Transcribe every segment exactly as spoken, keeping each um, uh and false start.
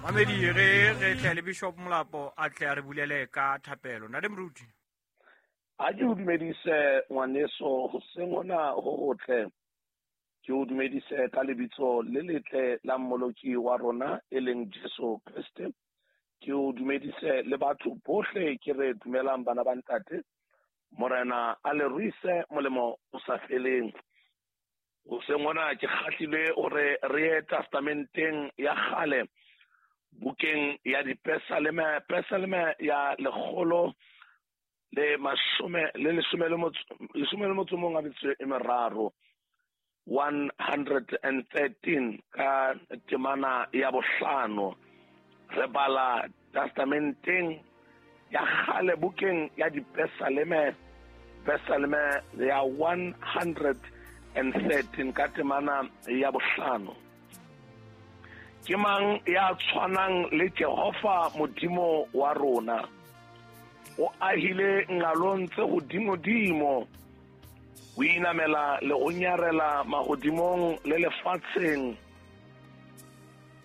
Mamedi re re tle le Bishop Molapo a tle a re bulele ka thapelo. Ntate Moruti. A ke o dumedise ngwaneso hoseng hona ho hotle. Ke o dumedise ka lebitso le letle la Mmoloki wa rona e leng Jesu Kriste. Ke o dumedise le batho bohle ke re dumelang bana ba ntate. Morena a le ruise molemo o sa feleng. Hoseng hona ke kgahlilwe hore re ye testamenteng ya kgale, bukeng ya Dipesaleme, Pesaleme ya lekgolo le mashome le leshome le motso leshome le motso mong a metso e meraro, one hundred and thirteen ka temana ya bohlano. Re bala testamenteng ya kgale bukeng ya Dipesaleme, Pesaleme ya one hundred and thirteen ka temana ya bohlano. Ke mang ya tshwanang le Jehova Modimo wa rona? O ahile nqalong tse hodimodimo, o inamela le ho nyarela mahodimong le lefatsheng.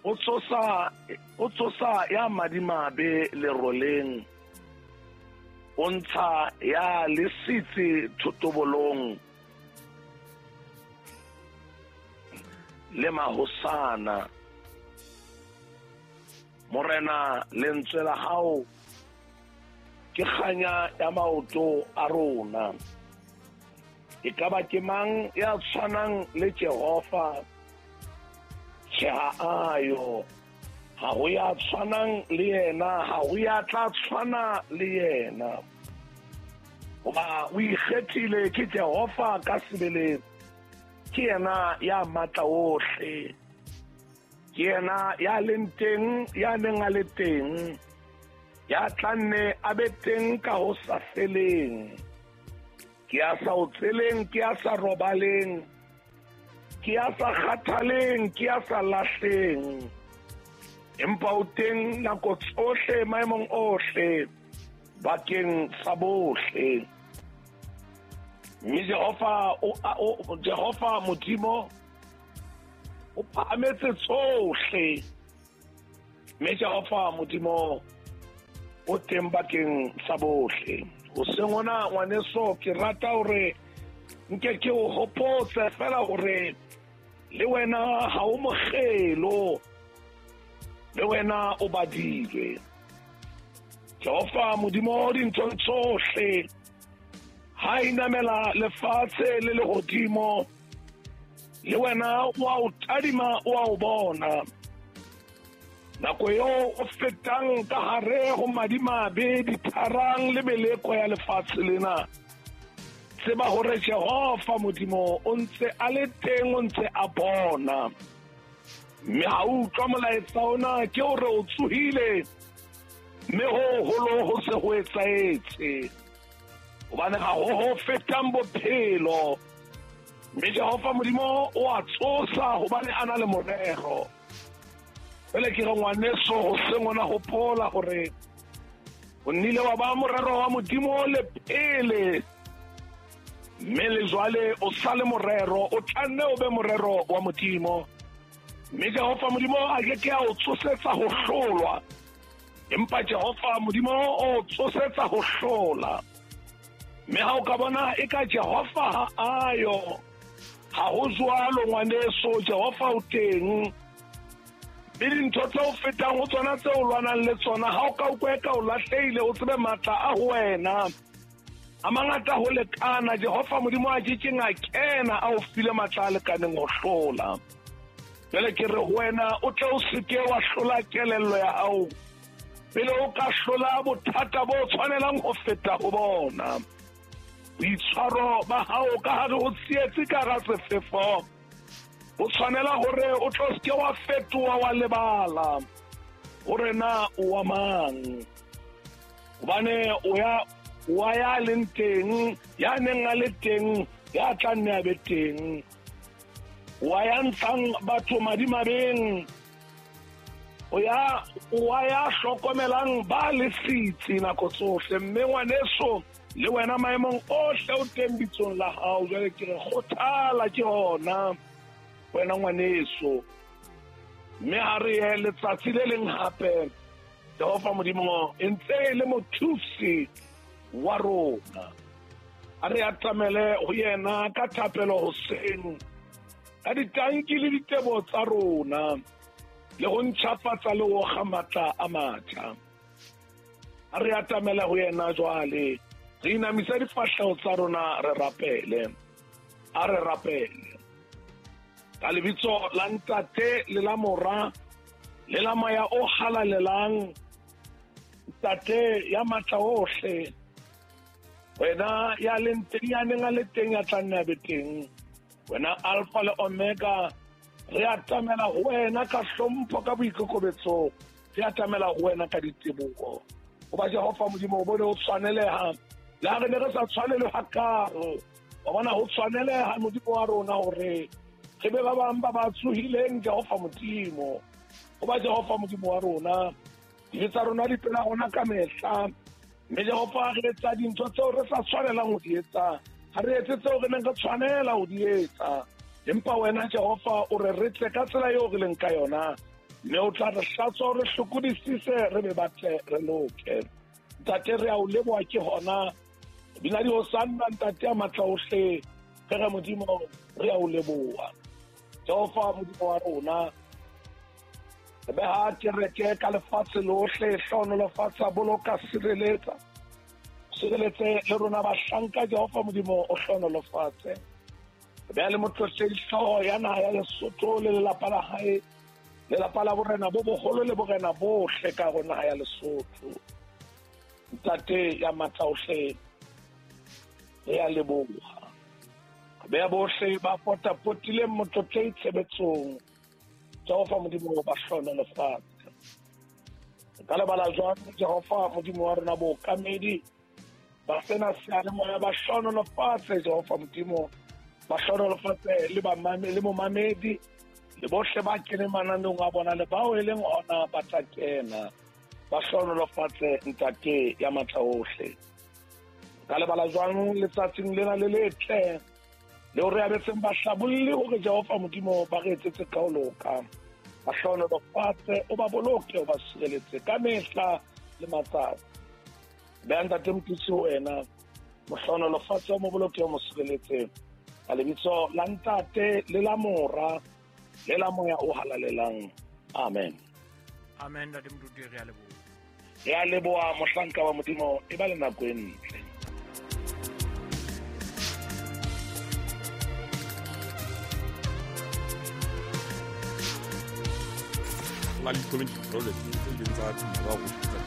O tsosa, o tsosa ya madimabe leroleng, o ntsha ya lesitsi thotobolong le mahosana. Morena, lentswe la hao ke kganya ya maoto a rona. E ka ba ke mang ya tshwanang le Jehova? Tjhe, ha ayo. Ha ho ya tshwanang le yena, ha ho ya tla tshwana le yena. Hoba o ikgethile ke Jehova ka sebele, ke yena ya matla ohle, ke yena ya leng teng, ya neng a le teng, ya tla nne a be teng ka ho sa feleng. Ke ya sa otseleng, ke ya sa robaleng, ke ya sa kgathaleng, ke ya sa lahleng. Empa o teng nako tsohle, maemong ohle, bakeng sa bohle. Mme Jehova o, o Jehova Modimo o phahametse tsohle. Mme Jehova Modimo o teng bakeng sa bohle. Hoseng hona ngwaneso, ke rata hore nke ke o hopotse fela hore le wena ha o mokgelo, le wena o badilwe. Jehova Modimo dinthong tsohle ha inamela lefatshe le lehodimo, le wena o a o tadima, o a o bona. Nako eo o fetang ka hare ho madimabe, ditharang le meleko ya lefatshe lena, tseba hore Jehova Modimo o ntse a le teng, o ntse a bona. Mme ha o utlwa molaetsa ona, ke hore o tsohile, mme ho holo ho se ho etsahetse. Hobane ha ho ho fetang bophelo. Mme Jehova Modimo o a tsosa hobane a na le morero. Pele ke re ngwaneso, hoseng hona hopola hore o nnile wa ba morero wa Modimo le pele, mme le jwale o sa le morero, o tla nne o be morero wa Modimo. Mme Jehova Modimo a ke ke a o tsosetsa ho hlolwa, empa Jehova Modimo o tsosetsa ho hlola. Mme ha o ka bona e ka Jehova ha ayo, ha ho jwalo ngwaneso, Jehova o teng. Mme dintho tse o fetang ho tsona, tse o lwanang le tsona, ha o ka utlwa eka o lahlehile, o tsebe matla a ho wena a mangata ho lekana. Jehova Modimo a ke keng a kena a o file matla a lekaneng ho hlola. Jwale ke re ho wena, o tle o seke wa hlola kelello ya hao pele o ka hlola bothata bo tshwanelang ho feta ho bona. Boitshwaro ba hao ka hare ho tsietsi ka hara sefefo, o tshwanela hore o tlo seke wa fetoha wa lebala hore na o wa mang. Hobane o ya wa ya leng teng, ya neng a le teng, ya tla nne a be teng. Wa ya ntshang batho madimabeng, o ya wa ya hlokomelang ba lesitsi nako tsohle. Mme ngwaneso, le wena maemong ohle o teng bitsong la hao. Jwale ke re kgothala ke hona wena ngwaneso. Mme ha re ye letsatsi le leng hape, Jehova Modimo e ntse e le mothusi wa rona. A re atamele ho yena ka thapelo hoseng, ka ditanki le ditebo tsa rona, le ho ntjhafatsa le ho kga matla a matjha. A re atamele ho yena jwale, re inamisa difahleho tsa rona re rapele. A re rapele. Ka lebitso la Ntate le la Mora le la Moya o Halalelang, Ntate ya matla ohle, wena ya leng teng, ya neng a le teng, ya tla nne a be teng, wena Alpha le Omega, re atamela ho wena ka hlompho, ka boikokobetso, re atamela ho wena ka diteboho. Hoba Jehova Modimo o bone ho tshwaneleha, le ha re ne re sa tshwanelwe hakalo, wa bona ho tshwaneleha Modimo wa rona hore re be ba bang ba ba tsohileng Jehova Modimo. Hoba Jehova Modimo wa rona, dibe tsa rona di pela rona ka mehla, mme Jehova re etsa dintho tseo re sa tshwanelang ho di etsa, ha re etse tseo re neng re tshwanela ho di etsa. Empa wena Jehova o re re tle ka tsela eo re leng ka yona, mme o tla re hlatswa, re hlokodisise, re be batle re loke. Ntate, re a o leboha ke hona bina dihosanna, Ntate ya matla ohle, re re Modimo re a o leboha. Jehova Modimo wa rona, re beha kereke ka lefatshe lohle, hlohonolofatsa, boloka, sireletsa, sireletse le rona bahlanka Jehova Modimo o hlohonolofatse. Re beha le motlotlehi hlooho ya naha ya Lesotho le lelapa la hae, lelapa la borena bo boholo le borena bohle ka ho naha ya Lesotho. Ntate ya matla ohle, re a leboha. Re beha bohle ba potapotileng motlotlehi tshebetsong, Jehova Modimo ba hlohonolofatse. Re ka lebala jwang Jehova Modimo wa rona bookamedi ba sena seyalemoya, ba hlohonolofatse Jehova Modimo, ba hlohonolofatse le bamame le momamedi le bohle ba keneng mananeong a bona le bao e leng ona ba tla kena, ba hlohonolofatse Ntate ya matla ohle. Ka lebala jwang letsatsing lena le letle le hore abetseng ba hlabolle hore Jehova Modimo ba re etsetse ka ho loka, ba hlohonolofatse, o ba boloke, o ba sireletse ka mehla le matsatsi. Beha Ntate Mothusi ho wena, mo hlohonolofatse, o mo boloke, o mo sireletse, ka lebitso la Ntate le la Mora le la Moya o Halalelang. Amen. Amen. Ntate Moruti, re a leboha. Re a leboha mohlanka wa Modimo, e ba le nako e ntle. Na le community project tse ileng tsa tsa ho tsa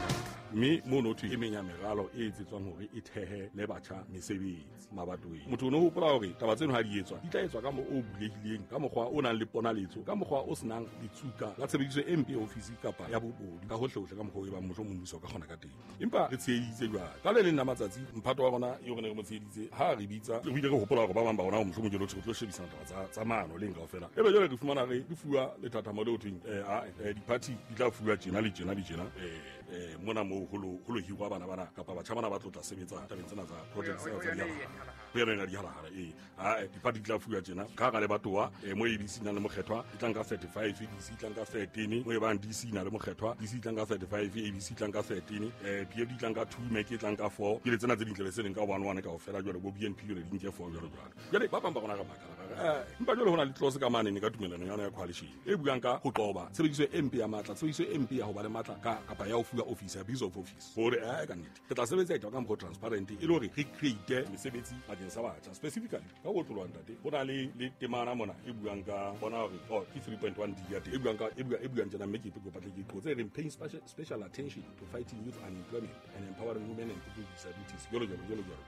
mme mono thwe e meng ya meralo e etsetswang hore e thehe le batjha mesebetsi mabatoweng. Motho o no hopola hore taba tseno ha di etswa di tla etswa ka mo o bulehileng, ka mokgwa o nang le ponaletso, ka mokgwa o senang letsuka la tshebediso e mpe ya ofisi kapa ya bobodu, ka hohlehohle ka mokgwa o e bang mohlomong mmuso o ka kgona ka teng. Empa re tsheheditse jwale ka le leng la matsatsi mphato wa rona eo re ne re mo tsheheditse ha re bitsa re ile re hopola hore ba bang ba rona mohlomong ke lo tlo shebisana taba tsa tsa maano leng kaofela. Ebe jwale re fumana re re fuwa lethathamo leo thweng eh a di-party di tla fuwa tjena le tjena le tjena eh mona mo ho lo ho lo hirwa bana bana kapa batjha bana ba tlo tla sebetsa tabeng tsena tsa project tsena tsa dihalahara ho yona ya dihalahara ee a dipati di tla fuwa tjena ka hara lebatowa mo A B C na le mokgethwa e tlang ka thirty-five, D C e tlang ka thirteen, mo e bang D C na le mokgethwa, D C e tlang ka thirty-five, A B C e tlang ka thirteen, eh P F D e tlang ka two, M E C e tlang ka four, ke le tsena tse dintle le se leng ka one one kaofela jwale bo B N P jwale di nke four jwalo jwalo. Jwale ba bang ba rona re makala eh empa jwale ho na le clause ka mane ne ka tumelano ya yona ya coalition e buang ka ho qoba tshebediso e mpe ya matla, tshebediso e mpe ya ho ba le matla ka kapa ya ho fuwa office, abuse of office, hore eh ka nnete re tla sebetsa e ka mokgwa transparent e le hore re create mesebetsi bakeng sa batjha specifically ka ho tlolwa ntate. Ho na le le temana mona e buang ka bona hore oh ke three point one D ya teng e buang ka e buang e buang tjena mme ke kopa tle ke qotse e reng paying special, special attention to fighting youth unemployment and empowering women and people with disabilities jalo jalo jalo jalo.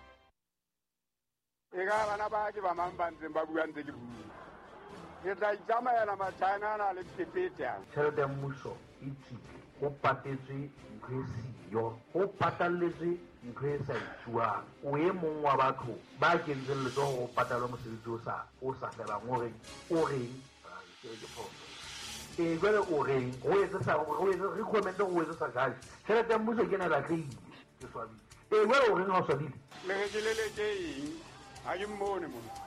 E ka bana ba ke ba mang ba ntseng ba bua ntse ke bua. Ke tla itsamaela Machina ana le phephethe. Tjhelete ya mmuso e tswile, ho patetswe ntho e siyo, ho patalletswe ntho e sa etsuwang. O e mong wa batho ba kentseng letsoho ho patalwa mosebetsi o sa o sa felang, o reng o reng ke ke phoso. E jwale o reng ho etse sa ho etse recommend ho etse sa judge. Tjhelete ya mmuso ke ena e batlehile, ke swabile. E jwale o reng ha o swabile? Le re ke leleke eng? Ha ke mmone mona.